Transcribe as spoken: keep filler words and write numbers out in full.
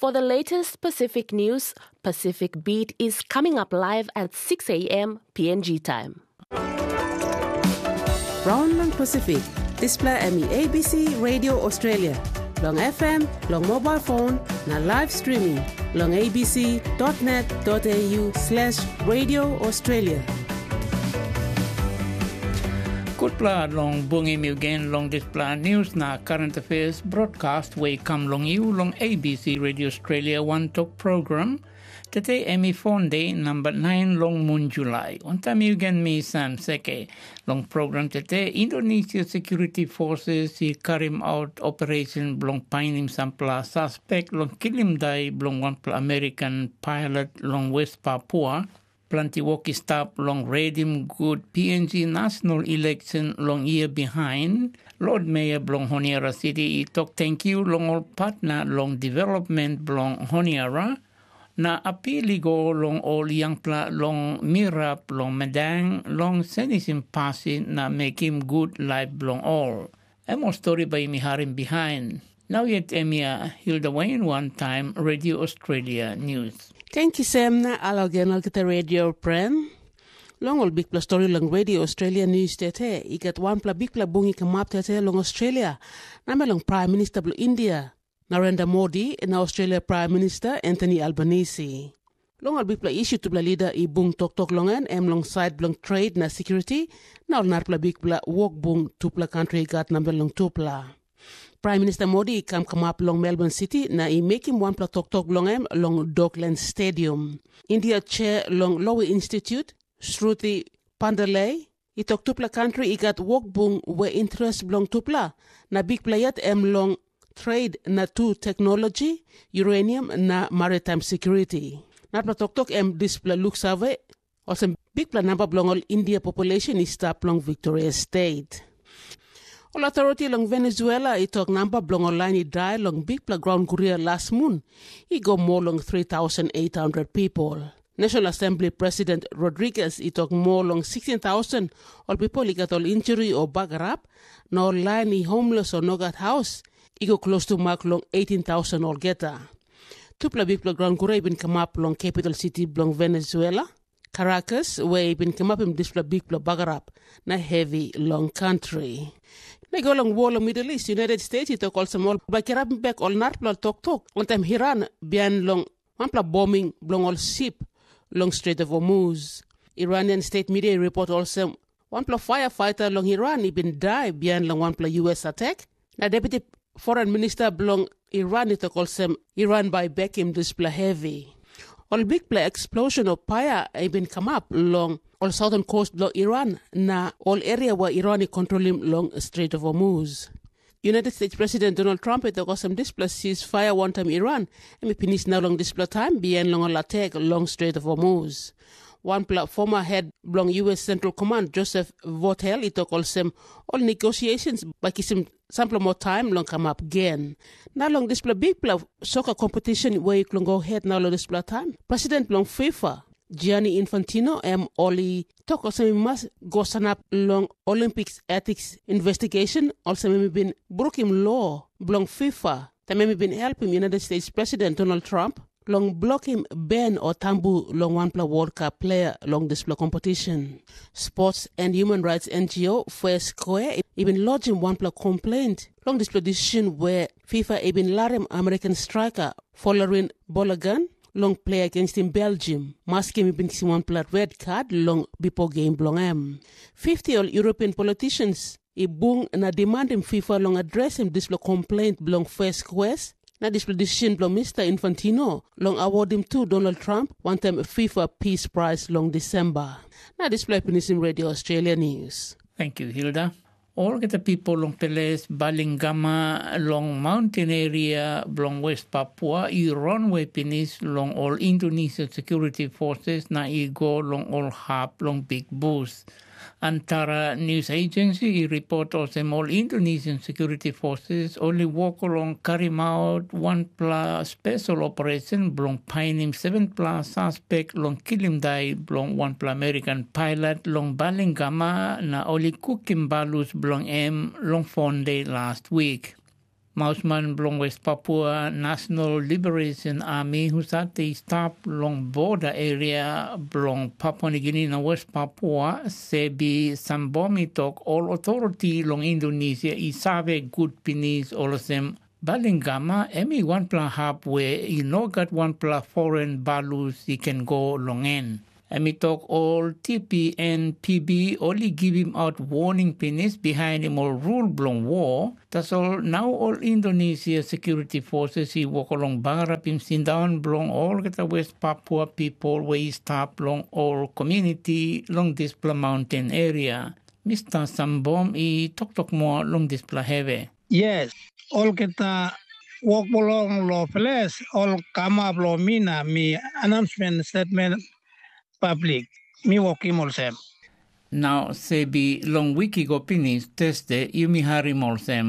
For the latest Pacific news, Pacific Beat is coming up live at six a m P N G time. Raun long Pasifik, dispela em i A B C Radio Australia, long F M, long mobile phone, na live streaming long A B C dot net dot A U slash Radio Australia. Gutpela long bungim yu gen long dispela news na current affairs broadcast wey i kam long yu long A B C Radio Australia One Tok program. Tete em i Fonde namba nain long mun Julai. Wantaim yu gen mi Sam Seke. Long program tete, Indonesia Security Forces i karim out operation bilong painim sampela suspek long kilim dai bilong wanpela American pilot long West Papua. Planti wok i stap long redim gut P N G national election long year behind. Lord Mayor bilong Honiara City i tok tenkyu long ol partner long development bilong Honiara, na apil i go long ol yangpela long mirap long medang long senisim pasin na mekim gut laip bilong ol. Em ol stori bai yumi harim bihain. Nau yet em ya Hilda Wain wantaim Radio Australia News. Thank you, Sam, na alogen olgeta radio friend. Long ol bikpela stori long Radio Australia News tete, i gat wanpela bikpela bung i kamap tete long Australia, na me long Prime Minister bilong India, Narendra Modi, na Australia Prime Minister Anthony Albanese. Long ol bikpela isu tupela lida i bung toktok long en, em long sait bilong trade na security, na ol narapela bikpela wok bung tupela kantri i gat namel long tupela. Prime Minister Modi i kam kamap long Melbourne City na i mekim wanpela toktok long em long Docklands Stadium. India chair long Lowy Institute, Shruti Pandalei, i tok tupela kantri i gat wok bung we interes bilong tupela, na bikpela yet em long trade na tu teknologi, uranium na maritime security. Narapela toktok em dispela luksave, olsem bikpela namba bilong ol India population i stap long Victoria State. Ol authority long Venezuela i tok namba bilong ol lain i dai long bikpela graun guria las mun i go moa long three thousand eight hundred people. National Assembly President Rodriguez i tok moa long sixteen thousand ol people i gat ol injuri o bagarap, na ol lain i homeless o no gat haus i go klostu mak long eighteen thousand olgeta. Tupela bikpela graun guria i bin kamap long capital city bilong Venezuela, Caracas, we i bin kamapim dispela bikpela bagarap na hevi long kantri. Na i go long wol long Middle East, United States i tok olsem ol bai kirapim bek ol narapela toktok wantaim Iran bihain long wanpela boming bilong ol sip long Strait of Hormuz. Iranian state media i report olsem, wanpela firefighter long Iran i bin dai bihain long wanpela U S attack, na Deputy Foreign Minister bilong Iran i tok olsem, Iran bai i bekim dispela hevi. Ol bikpela explosion o paia i bin kamap long ol southern coast bilong Iran na ol area wa Iran i kontrolim long Strait of Hormuz. United States President Donald Trump i tok olsem dispela ceasefire wantaim Iran em i pinis nau long dispela taim bihain long ol attack long Strait of Hormuz. Wanpela former head bilong U S Central Command, Joseph Votel, i tok olsem, ol negotiations bai kisim sampela moa taim long kamap gen. Na long dispela bikpela soka kompetishen we i go het nau long dispela taim, president bilong FIFA, Gianni Infantino, em ol i tok olsem i mas go sanap long Olympics Ethics Investigation, olsem em i bin brukim lo bilong FIFA, taim em i bin helpim United States President Donald Trump long blokim ben o tambu long wanpela World Cup player long dispela kompetishen. Sports and Human Rights N G O Fair Square i bin lodgim wanpela complaint long dispela decision where FIFA i bin larim American striker Folarin Bolagan long play against him Belgium, maski em i bin kisim wanpela red card long bipo game bilong em. fifty ol European politicians i bung na demandim FIFA long adresim dispela complaint bilong Fair Square, na dispela decision bilong Mr. Infantino long awodim tu Donald Trump wantaim FIFA Peace Prize long Disemba. Na dispela i pinisim Radio Australia News. Thank you, Hilda. Olgeta people long peles Balingama long mountain area bilong West Papua i runway pinis long ol Indonesian Security Forces na i go long ol hap long Big Bus. Antara News Agency i ripot olsem ol Indonesian Security Forces ol i wok long karimaut wanpela spesal operasyon bilong painim sevenpela saspek long kilim dai bilong wanpela American pilot long Balingama na ol i kukim balus bilong em long Fonde last wik. Mausman bilong West Papua National Liberation Army husat i stap long border area bilong Papua Nugini na West Papua, Sebi Sambom i tok ol authority long Indonesia i save gut pinis olsem Balingama em i wanpela hap we i no gat wanpela foreign balus i ken go long en. Em i tok ol T P N P B ol i givim out warning pinis bihainim ol rul bilong war, tasol nau ol Indonesia security forces i wok long bagarapim sindaun bilong olgeta West Papua pipol we i stap long ol komuniti long dispela maunten eria. Mista Sambom i toktok moa long dispela hevi. Yes, olgeta wok bilong lo ples ol kamap lo mi na mi announcement statement public. Mi wokim olsem. Nau sebi long wik i go pinis Thursday yumi harim olsem